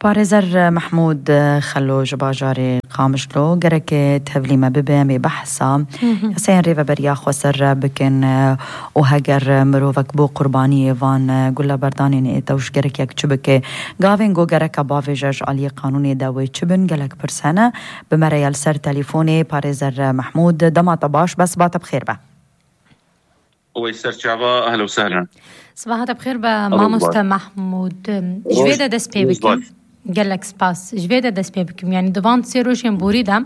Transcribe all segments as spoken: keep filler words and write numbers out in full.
Parêzer Mehmûd Xelo ji bajarê Qamişlo, gerek tevlî me bibe, em ê behsa yasayên rêveberiya xweser bikin û heger mirovek bo qurbaniyê van guleberdanên ê tewş gerek yek çi bike? Gavên ku gereka bavêje ji aliyê qanûnê de wê çi bin? Gelek pirs hene. Bi me re ye li ser telîfonê parêzer Mehmûd. Dema te baş, bes ba te bi xêr be. Wey ser çava, ehlen û sehlen. Sibaha te bi xêr be, mamoste Mehmûd. Ji vê de dest pê bikim. Gelek spas. Ji vê de dest pê bikim. Yanî di van sê rojên borî de,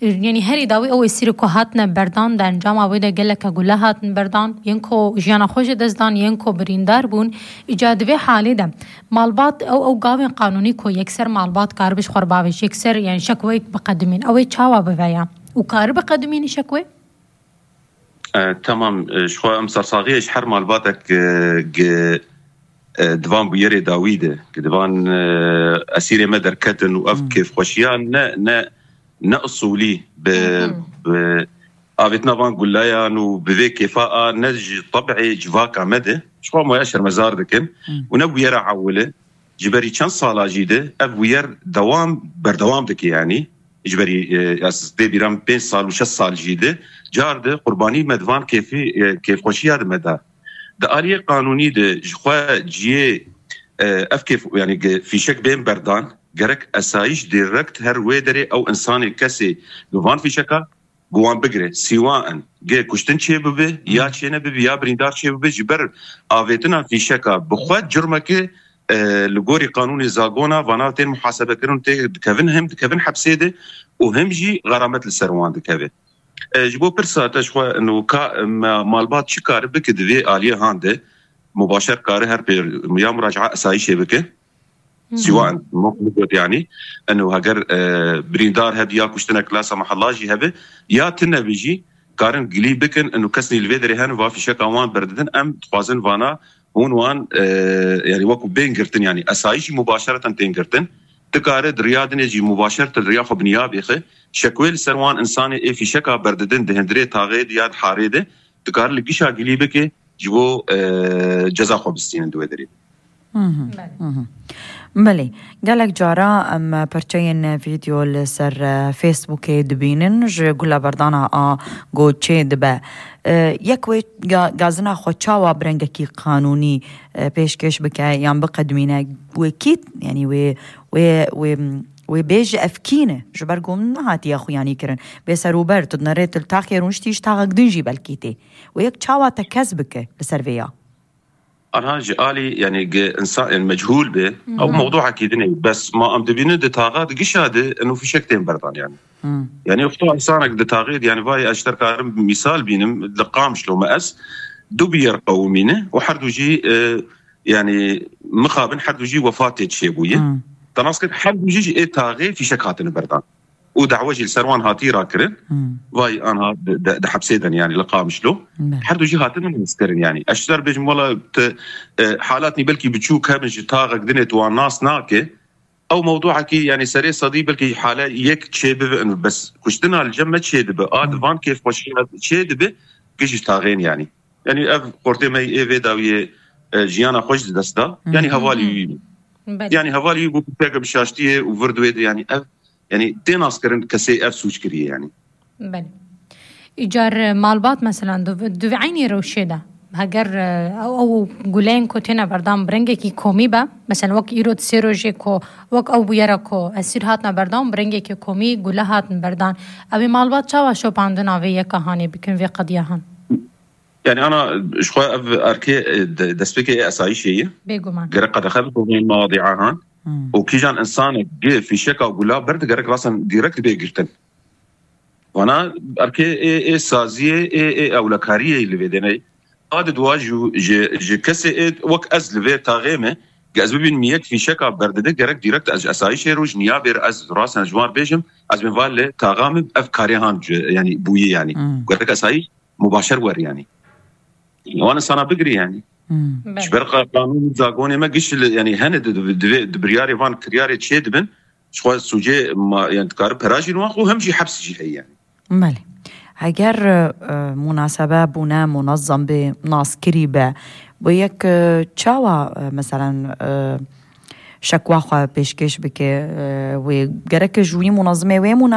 yanî herî dawî ew êsîrê ku hatine berdan, di encama wê de geleke gule hatin berdan, yên ku jiyana xwe ji dest dan, yên ku birîndar bûn. Îca di vê halê de malbat ew, ew gavên qanûnî ku yekser malbat karibe ji xwe re bavêje, yekser, yanî şekweyek biqedimîn, ew ê çawa biveya? Û karibe qedimînî şekwê? E, temam, e, ji xwe em sersaxiyê ji her malbatek, e, gi, e, di van bûyerê dawî de, gi di van, e, esîrê me derketin û ev kêfxweşiya ne, ne, ne usulî bi, bi avêtina van guleyan û bi vê kêfa a ne ji teb'ê civaka me de, ji xwe em waya şermezar dikin û ne bûyera ewil e. Ji berî çend sala jî de ev bûyer dewam, berdewam dike, yanî ji berî, e, ez dê bîra min pênc sal û şeş sal jî de car de qurbanî me di van kêfî, e, kêfxweşiya de me da. Di aliyê qanûnî de ji xwe ciyê, e, ev kêf, yanî ge-, fîşek bên berdan, gerek esayîş direkt her wê derê ew insanê kesê li van fîşeka bi wan bigire, sîwa in, gê kuştin çê bibe, ya çê nebibe, ya birîndar çê bibe, ji ber avêtina fîşeka bi xwe curmekê, e, li gorî qanûnê zagona vana tên muhasebekirin û tê dikevin, hem dikevin hepsê de û hem jî xeramet li ser wan dikeve. E, ji bo pirsa te ji xwe, ino ka, ma-, malbat çi kare bike di vê aliyê han de, mubaşer kare her pê ya muraca'a esayîşê bike. Sîwa in, wek min got, yanî, eno heger, e, birîndar hebe ya kuştinek la semahallah jî hebe, ya tune be jî, karin gilî bikin, eno kesnî li vê derê hene, va fîşeka wan berdidin, em dixwazin vana hûn wan, e, yanî wekû bên girtin, yanî esayî jî mubaşereten tên girtin. Dikare di riya dinê jî mubaşereten riya xwe bi niya bêxe. Şekwê li ser wan insanê ê fîşeka berdidin di hundirê taxê de ya di harê de, dikare li gişa gilî bike, ji bo, e, ceza xwe bistînin di wê derê. Mhm, Belê. mhm. Belê, gelek cara em perçeyên vîdeo li ser, e, Facebookê dibînin, ji guleberdana a ku çê dibe. E, yek wê ga-, gazina xwe çawa bi rengekî qanûnî, e, pêşkêş bike yan biqedimîne, wê kî, yanî wê, wê, wê, wê bêje ev kî ne, ji ber ku nehatiye xuyanî kirin. Bê serûber, tu dinerê tu li taxê rûniştî ji taxek din jî belkî tê. Wê yek çawa tekez bike li ser vê ya? Anha ji alî, yanî, ge-, insan, yanî, mechûl be, ew mewduekî din e. Bes ma em dibînin di taxa di gişa de, eno fîşek tên berdan, yanî. Hmm. Yanî, wexta insanek di taxê de, yanî, vay, ez ji te karim mîsal bînim, li Qamişlo me ez, du bûyer qewimîne û her du jî, e, yanî, mixabin her du jî wefatê çêbûye. Hmm. Te nas kir, her du jî ji ê taxê fîşek hatine berdan. Û da'we jî li ser wan hatî rakirin. Hmm. Vay anha di, di, di hepsê de ne, yanî li Qamişlo. Belê. Her du jî hatine naskirin, yanî. Ez ji te re bêjim, wela tu, e, halatnî belkî biçûk hebin ji taxek dinê tu wan nas nake. Ew mewduekî, yanî serê sedî belkî hale yek çê bibe, bes kuştina li cem me çê dibe. A di van kêfxweşiya çê dibe, gişt taxên, yanî. Yanî ev xortê me ê vê dawiyê, e, jiyana xwe ji dest da. Yanî hevalî wî bû. Belê. Yanî hevalî wî bû, peke bi şaştiyê û vir di wê de, yanî ev, yanî tê naskirin kesê ev sûc kiriye, yanî. Belê. Îcar malbat, mesela, di, di vê eynî rewşê de, heger, e, ew, ew guleyên ku têne berdan bi rengekî komî be, mesela, wek îro di sê rojê ku, wek ew bûyera ku esîr hatine berdan, bi rengekî komî gule hatin berdan, ew ê malbat çawa şopandina vê yeka hanê bikin, vê qediya han? Yanî, ana, ji xwe ev erkê, e, de-, destpêkê ê esayîşê ye. Bêguman. Gerek qedexe bikin vê mewadi'a han. Hmm. Û kîjan insanek gi fîşeka gula berde gerek rasen direkt bê girtin. Vana erkê ê, ê saziyê, ê, ê ewlekariyê li vê dêne. A di dua ji, ji, ji kesê ê wek ez li vê taxê me, ge ez bibînim yek fîşeka berdide, gerek direkt ez ji esayîşê roj niya bêr ez rasen ji wan bêjim, ez bên va li taxa min ev karê han, yanî bûyî, yanî. Hmm. Gerek esayîş mubaşer wer, yanî. Wan insana bigirî, yanî. Hmm. Belê. Ji ber qa-, qanûn û zagonê me giş li, yanî hene di, di, di, di biryarê van kiryarê çê dibin, ji xwe sûcê ma, yanî dikare pera jî li wan xwe hem jî heps jî heye, yanî. Belê. Heger, e, munasabe bûne munezem be, naskirî be, bu yek, e, çawa, e, meselen, e, şekwa xwe pêşkêş bike, e, wê gerek ji wî munezimê wê